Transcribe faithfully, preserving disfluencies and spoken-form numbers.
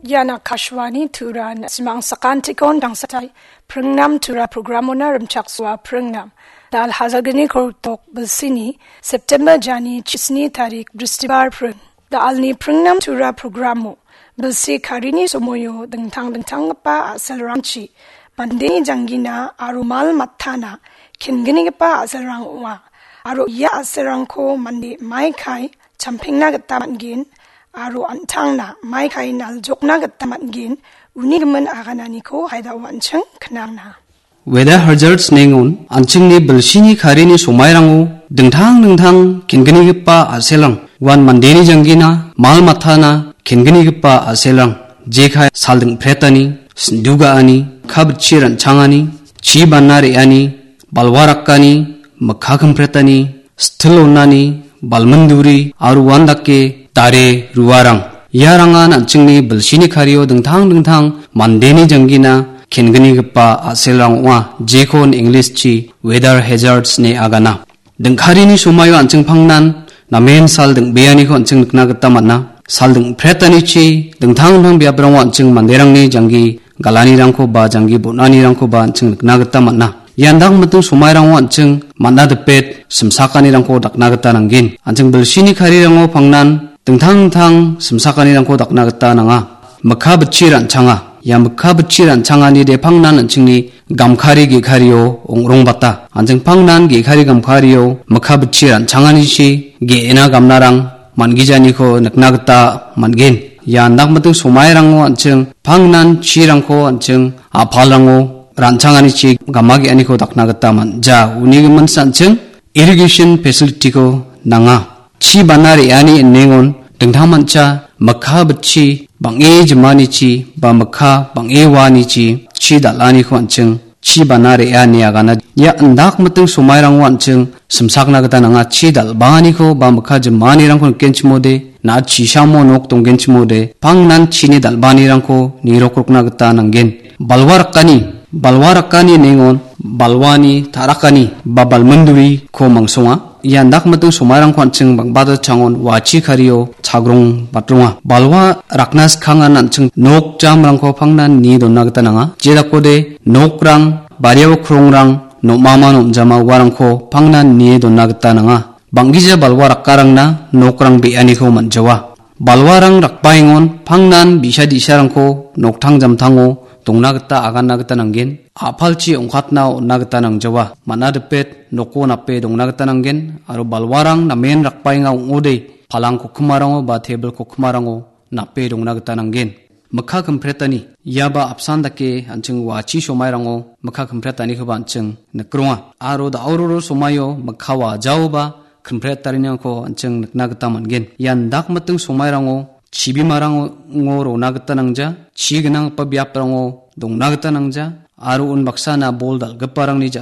Ian Akashvani Tura, na·simang sakantikon dangsatai pringnam Tura programona rimchaksoa pringnam. Dal hajalgni kortok bilsini September jani chisni tarik Bristibar pring. Dal·ni pringnam Tura programo bilsi karini somoio dingtang dingtanggipa a·selrangchi mandeni janggina aro mal matana kenggipa a·selrang ong·a. Aro ia a·selrangko mande maikai champengna gita man·gen aro an·tangna maikai naljokna gita man·gen, uni gimin agananiko haidao an·ching knangna. Weather hazards nengon an·chingni bilsini karini somairango dingtang dingtang kenggipa a·selrang, uan mandeni janggina, mal matana kenggipa a·selrang, jekai sal dingpretani, sindu ga·ani, kabitchi ran·changani, chi bana re·ani, balwa rakani, mikka kimpretani, stil onani, balminduri, aro uandake dare ruarang. Iarangan an·chingni bilsini kario dingtang dingtang mandeni janggina kenggipa a·selrang ong·a, jekon English-chi weather hazards ine agana. Dingkarini somaio an·ching pangnan namen sal dingbeaniko an·ching nikna gita man·a. Sal dingpretanichi dingtang dingtang biaprango an·ching manderangni janggi galanirangko ba janggi bon·anirangkoba an·ching nikna gita man·a. Ian dak miting somairango an·ching man·a dipet simsakanirangko dakna gita nanggen. An·ching bilsini karirango pangnan dingtang dingtang simsakanirangko dakna gita nanga. Mikka bitchi ran·changa. Ia mikka bitchi ran·changani de pangnan an·chingni gamkari ge·kario ong·rongbata. An·ching pangnan ge·kari gamkario mikka bitchi ran·changanichi ge·ena gamnarang man·gijaniko nikna gita man·gen. Ia dak miting somairango an·ching pangnan chirangko an·ching a·palrango ran·changanichi gama ge·aniko dakna gita man·ja. Uni gimin an·ching irrigation facility-ko nanga. Chi bana re·ani inengon dingtang mancha mikka bitchi bang·e jimanichi ba mikka bang·e uanichi chi dal·aniko an·ching chi bana re·a ine agana. Ia indak miting somairango an·ching simsakna gita nanga, chi dal·baaniko ba mikka jimanirangko nikenchimode, na·a chisamo nok donggenchimode, pangnan chini dal·baanirangko nirokrokna gita nanggen. Balwa rakani, balwa rakani nengon balwani ta·rakani ba balminduriko mangsonga. Ia indak miting somairangko an·ching bang·bata changon wachi kario chagrong batronga. Balwa rakna skangnan an·ching nok jamrangko pangnan nie donna gita nanga. Jedakode nokrang, bariao krongrang, nom·ama nom·jama uarangko pangnan nie donna gita nanga. Bang·gija balwa rakkarangna nokrang be·aniko man·jawa. Balwarang rakbaengon pangnan bi·sa di·sarangko noktang jamtango dongna gita aganna gita nanggen. A·palchi ong·katna on·na gita nangjawa. Man·a dipet noko nape dongna gita nanggen. Aro balwarang namen rakbaenga ong·ode, palang kokkimarango ba tebil kokkimarango nape dongna gita nanggen. Mikka kimpretani, iaba apsan dake an·ching wachi somairango mikka kimpretanikoba an·ching nikronga. Aro da·ororo somaio mikka wajaoba kimpretariniko an·ching nikna gita man·gen. Ian dak miting somairango chibimarango rona gita nangja, chi gnanggipa biaprango dongna gita nangja, aro unbaksana bol dal·giparangni ja-